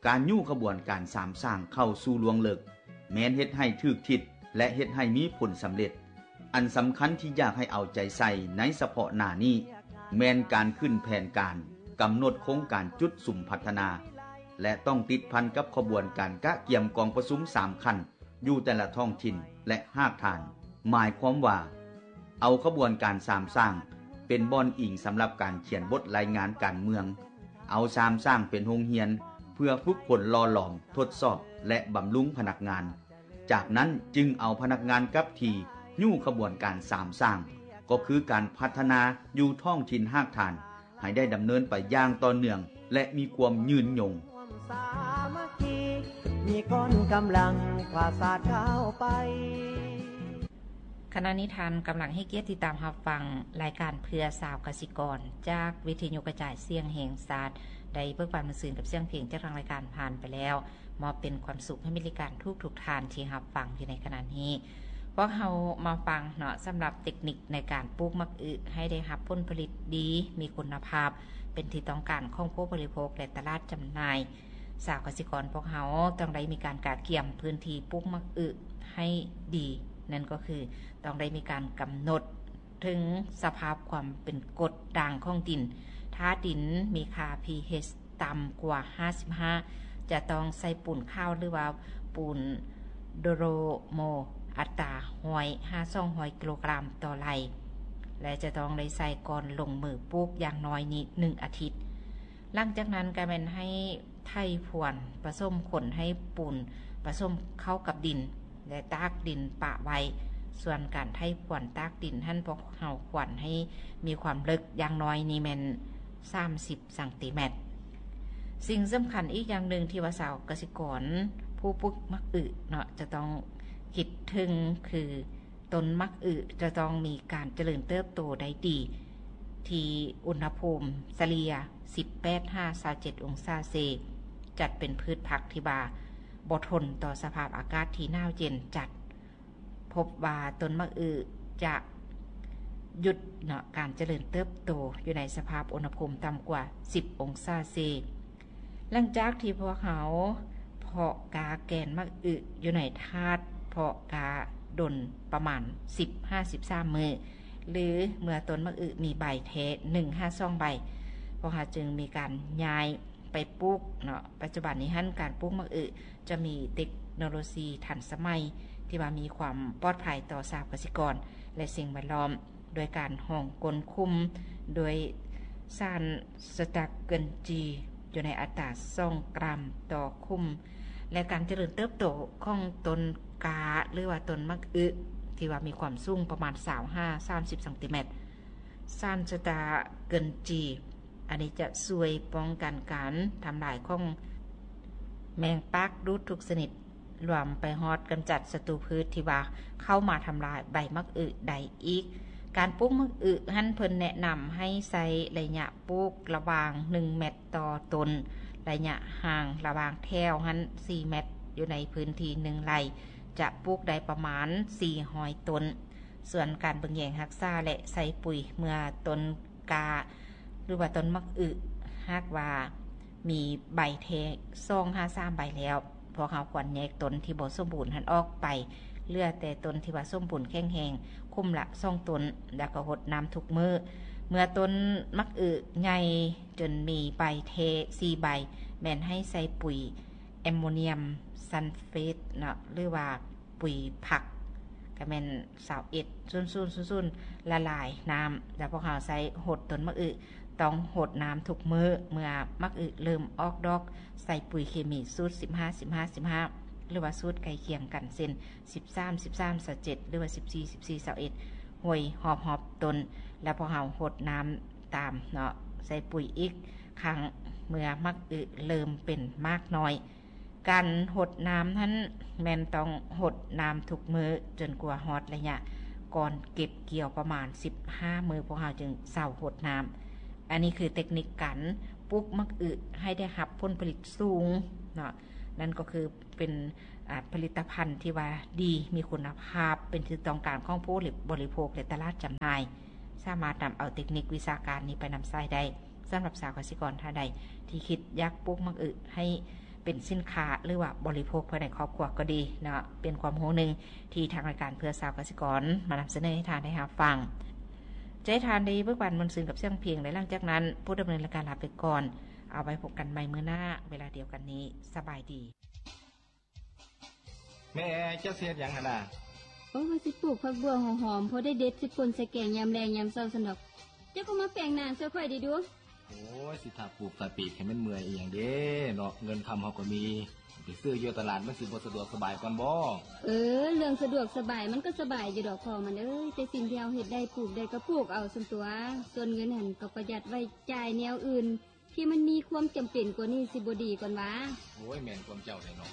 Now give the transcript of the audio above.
ການຍູ້ຂະບວນການສາມສ້າງເຂົ້າສູ່ລວງເລິກ ແມ່ນເຮັດໃຫ້ຖືກທິດ ແລະ ເຮັດໃຫ້ມີຜົນສຳເລັດ. ອັນສຳຄັນທີ່ຢາກໃຫ້ເອົາໃຈໃສ່ໃນສະເພາະໜ້ານີ້ ແມ່ນການຂຶ້ນແຜນການ, ກຳນົດໂຄງການຈຸດສຸມພັດທະນາ ແລະ ຕ້ອງຕິດພັນກັບຂະບວນການກະກຽມກອງປະຊຸມສາມຂັ້ນ ຢູ່ແຕ່ລະທ້ອງຖິ່ນ ແລະ ຮາກຖານ. ໝາຍຄວາມວ່າ ເອົາຂະບວນການສາມສ້າງເປັນບ່ອນອີງສຳລັບການຂຽນບົດລາຍງານການເມືອງ, ເອົາສາມສ້າງເປັນໂຮງຮຽນເພື່ອຝຶກຝົນຫຼໍ່ຫຼອມ, ທົດສອບ ແລະ ບຳລຸງພະນັກງານ. ຈາກນັ້ນຈຶ່ງເອົາພະນັກງານກັບທີ່ຍູ້ຂະບວນການສາມສ້າງ, ກໍຄືການພັດທະນາຢູ່ທ້ອງຖິ່ນຮາກຖານ ໃຫ້ໄດ້ດຳເນີນໄປຢ່າງຕໍ່ເນື່ອງ ແລະ ມີຄວາມຍືນຍົງ. ມີກ້ອນກຳລັງພາສາດກ້າວໄປ. ຂະນະນີ້ທ່ານກຳລັງໃຫ້ກຽດຕິດຕາມຮັບຟັງລາຍການເພື່ອຊາວກະສິກອນ ຈາກວິທະຍຸກະຈາຍສຽງແຫ່ງຊາດ ໄດ້ເບີກບານມາຊືນກັບສຽງເພງຈາກທາງລາຍການຜ່ານໄປແລ້ວ. ມອບເປັນຄວາມສຸກໃຫ້ມີລາຍການທຸກໆທ່ານທີ່ຮັບຟັງຢູ່ໃນຂະນະນີ້. ພວກເຮົາມາຟັງເນາະ ສຳລັບເຕັກນິກໃນການປູກໝາກອຶໃຫ້ໄດ້ຮັບຜົນຜະລິດດີ, ມີຄຸນນະພາບ, ເປັນທີ່ຕ້ອງການຂອງຜູ້ບໍລິໂພກ ແລະ ຕະຫຼາດຈຳໜ່າຍ. ຊາວກະສິກອນພວກເຮົາຕ້ອງໄດ້ມີການກະກຽມພື້ນທີ່ປູກໝາກອຶໃຫ້ດີ, ນັ້ນກໍຄືຕ້ອງໄດ້ມີການກຳນົດ ເຖິງສະພາບຄວາມເປັນກົດດ່າງຂອງດິນ. ຖ້າດິນມີຄ່າ pH ຕ່ຳກວ່າຫ້າສິບຫ້າ ຈະຕ້ອງໃສ່ປູນຂາວ ຫຼືວ່າປູນໂດໂລໂມ ອັດຕາຮ້ອຍຫາສອງຮ້ອຍກິໂລກຣາມຕໍ່ໄລ່ ແລະ ຈະຕ້ອງໄດ້ໃສ່ກ່ອນລົງມືປູກຢ່າງໜ້ອຍນີ້ໜຶ່ງອາທິດ. ຫຼັງຈາກນັ້ນກໍແມ່ນໃຫ້ໄຖພວນປະສົມຂົນໃຫ້ປູນປະສົມເຂົ້າກັບດິນ ແລະ ຕາກດິນປະໄວ້. ສ່ວນການໄຖພວນຕາກດິນຫັ້ນ ພວກເຮົາຄວນໃຫ້ມີຄວາມເລິກຢ່າງໜ້ອຍນີ້ແມ່ນສາມສິບຊັງຕີແມັດ. ສິ່ງສຳຄັນອີກຢ່າງໜຶ່ງທີ່ວ່າຊາວກະສິກອນຜູ້ປູກໝາກອຶເນາະ ຈະຕ້ອງຄິດເຖິງຄື ຕົ້ນໝາກອຶຈະຕ້ອງມີການຈະເລີນເຕີບໂຕໄດ້ດີ ທີ່ອຸນຫະພູມສະເລ່ຍສິບແປດຫາຊາວເຈັດອົງສາເຊ, ຈັດເປັນພືດຜັກທີ່ວ່າບໍ່ທົນຕໍ່ສະພາບອາກາດທີ່ໜາວເຢັນຈັດ. ພົບວ່າຕົ້ນໝາກອຶຈະຢຸດເນາະ ການຈະເລີນເຕີບໂຕຢູ່ໃນສະພາບອຸນຫະພູມຕ່ຳກວ່າສິບອົງສາເຊ. ຫຼັງຈາກທີ່ພວກເຮົາເພາະກ້າແກ່ນໝາກອຶຢູ່ໃນຖາດເພາະກ້າດົນປະມານສິບຫາສິບສາມມື້ ຫຼື ເມື່ອຕົ້ນໝາກອຶມີໃບແທ້ໜຶ່ງຫາສອງໃບ ພວກເຮົາຈຶ່ງມີການຍ້າຍໄປປູກເນາະ. ປັດຈຸບັນນີ້ຫັ້ນ ການປູກໝາກອຶຈະມີເຕັກໂນໂລຊີທັນສະໄໝ ທີ່ວ່າມີຄວາມປອດໄພຕໍ່ຊາວກະສິກອນ ແລະ ສິ່ງແວດລ້ອມ. ໂດຍການຮອງກົ້ນຂຸມໂດຍສານສະຕາກເກີນຈີ ຢູ່ໃນອັດຕາສອງກຣາມຕໍ່ຂຸມ ແລະ ການຈະເລີນເຕີບໂຕຂອງຕົ້ນກ້າ ຫຼືວ່າຕົ້ນໝາກອຶ ທີ່ວ່າມີຄວາມສູງປະມານຊາວຫາສາມສິບຊັງຕີແມັດ. ສານສະຕາກເກີນຈີ ອັນນີ້ຈະຊ່ວຍປ້ອງກັນການທຳລາຍຂອງແມງປາກດູດທຸກຊະນິດ ລວມໄປຮອດກຳຈັດສັດຕູພືດທີ່ວ່າເຂົ້າມາທຳລາຍໃບໝາກອຶໄດ້ອີກ. ການປູກໝາກອຶຫັ້ນ ເພິ່ນແນະນຳໃຫ້ໃຊ້ໄລຍະປູກລະຫວ່າງໜຶ່ງແມັດຕໍ່ຕົ້ນ, ໄລຍະຫ່າງລະຫວ່າງແຖວຫັ້ນສີ່ແມັດ, ຢູ່ໃນພື້ນທີ່ໜຶ່ງໄລ່ຈະປູກໄດ້ປະມານສີ່ຮ້ອຍຕົ້ນ. ສ່ວນການເບິ່ງແຍງຮັກສາ ແລະ ໃສ່ປຸຍເມື່ອຕົ້ນກ້າ ຫຼືວ່າຕົ້ນໝາກອຶ ຫາກວ່າມີໃບແທ້ສອງຫາສາມໃບແລ້ວ, ພວກເຮົາຄວນແຍກຕົ້ນທີ່ບໍ່ສົມບູນຫັ້ນອອກໄປ, ເຫຼືອແຕ່ຕົ້ນທີ່ວ່າສົມບູນແຂງແຮງ, ຄຸ້ມລະສອງຕົ້ນ, ແລ້ວກໍຫົດນ້ຳທຸກມື້. ເມື່ອຕົ້ນໝາກອຶໃຫຍ່ຈົນມີໃບແທ້ສີ່ໃບ, ແມ່ນໃຫ້ໃສ່ປຸຍແອມໂມນຽມຊັນເຟດເນາະ ຫຼືວ່າ ປຸຍຜັກ ກໍແມ່ນຊາວເອັດ ສູນສູນ ລະລາຍນ້ຳ ແລ້ວພວກເຮົາໃສ່ຫົດຕົ້ນໝາກອຶ, ຕ້ອງຫົດນ້ຳທຸກມື້. ເມື່ອໝາກອຶເລີ່ມອອກດອກ, ໃສ່ປຸຍເຄມີສູດສິບຫ້າ ສິບຫ້າ ສິບຫ້າ ຫຼືວ່າສູດໃກ້ຄຽງກັນ ເຊັ່ນ ສິບສາມ ສິບສາມ ຊາວເຈັດ ຫຼືວ່າສິບສີ່ ສິບສີ່ ຊາວເອັດ ຫ້ອຍຮອບໆຕົ້ນ, ແລ້ວພວກເຮົາຫົດນ້ຳຕາມເນາະ, ໃສ່ປຸຍອີກຄັ້ງເມື່ອໝາກອຶເລີ່ມເປັນໝາກນ້ອຍ. ການຫົດນ້ຳຫັ້ນແມ່ນຕ້ອງຫົດນ້ຳທຸກມື້ຈົນກວ່າຮອດໄລຍະກ່ອນເກັບກ່ຽວປະມານສິບຫ້າມື້ ພວກເຮົາຈຶ່ງເຊົາຫົດນ້ຳ. ອັນນີ້ຄືເຕັກນິກການປູກໝາກອຶໃຫ້ໄດ້ຮັບຜົນຜະລິດສູງເນາະ, ນັ້ນກໍຄືເປັນ ອາ ຜະລິດຕະພັນທີ່ວ່າດີ ມີຄຸນນະພາບ ເປັນທີ່ຕ້ອງການຂອງຜູ້ບໍລິໂພກ ແລະ ຕະຫຼາດຈຳໜ່າຍ, ສາມາດນຳເອົາເຕັກນິກວິຊາການນີ້ໄປນຳໃຊ້ໄດ້. ສຳລັບຊາວກະສິກອນທ່ານໃດທີ່ຄິດຢາກປູກໝາກອຶໃຫ້ ເປັນສິນຄ້າ ຫຼືວ່າບໍລິໂພກພາຍໃນຄອບຄົວກໍດີເນາະ. ເປັນຄວາມຮູ້ໜຶ່ງທີ່ທາງລາຍການເພື່ອຊາວກະສິກອນມານຳສະເໜີໃຫ້ທ່ານໄດ້ຮັບຟັງ. ຈະໃຫ້ທ່ານໄດ້ເບີກບານມ່ວນຊື່ນກັບສຽງເພງ ແລະ ຫຼັງຈາກນັ້ນ ຜູ້ດຳເນີນລາຍການລາໄປກ່ອນ. ເອົາໄວ້ພົບກັນໃໝ່ມື້ໜ້າເວລາດຽວກັນນີ້. ສະບາຍດີ. ແມ່ ເຈົ້າຊິເຮັດຫຍັງຫັ້ນນະ? ໂອ້ ວ່າຊິປູກຜັກບົ່ວຫອມໆ ພໍໄດ້ເດັດຊິປົ່ນໃສ່ແກງຍາມແລງຍາມເຊົ້າຊັ້ນດອກ. ເຈົ້າກໍມາແປງນາຊ່ວຍຂ້ອຍເດ້ດູ. ໂອ້ຍ ຊິຖ້າປູກຖ້າປີກໃຫ້ມັນເມື່ອຍອີ່ຫຍັງເດ້ເນາະ, ເງິນຄຳເຮົາກໍມີ, ໄປຊື້ຢູ່ຕະຫຼາດມັນຊິບໍ່ສະດວກສະບາຍກ່ອນບໍ? ເອີ ເລື່ອງສະດວກສະບາຍມັນກໍສະບາຍຢູ່ດອກພໍ່ມັນເອີຍ, ແຕ່ສິ່ງທີ່ເຮົາເຮັດໄດ້ ປູກໄດ້ກໍປູກເອົາຊັ້ນຕົວະ, ສ່ວນເງິນຫັ້ນກໍປະຢັດໄວ້ຈ່າຍແນວອື່ນ ທີ່ມັນມີຄວາມຈຳເປັນກວ່ານີ້ຊິບໍ່ດີກ່ອນຫວາ? ໂອ້ຍ ແມ່ນຄວາມເຈົ້າແທ້ເນາະ.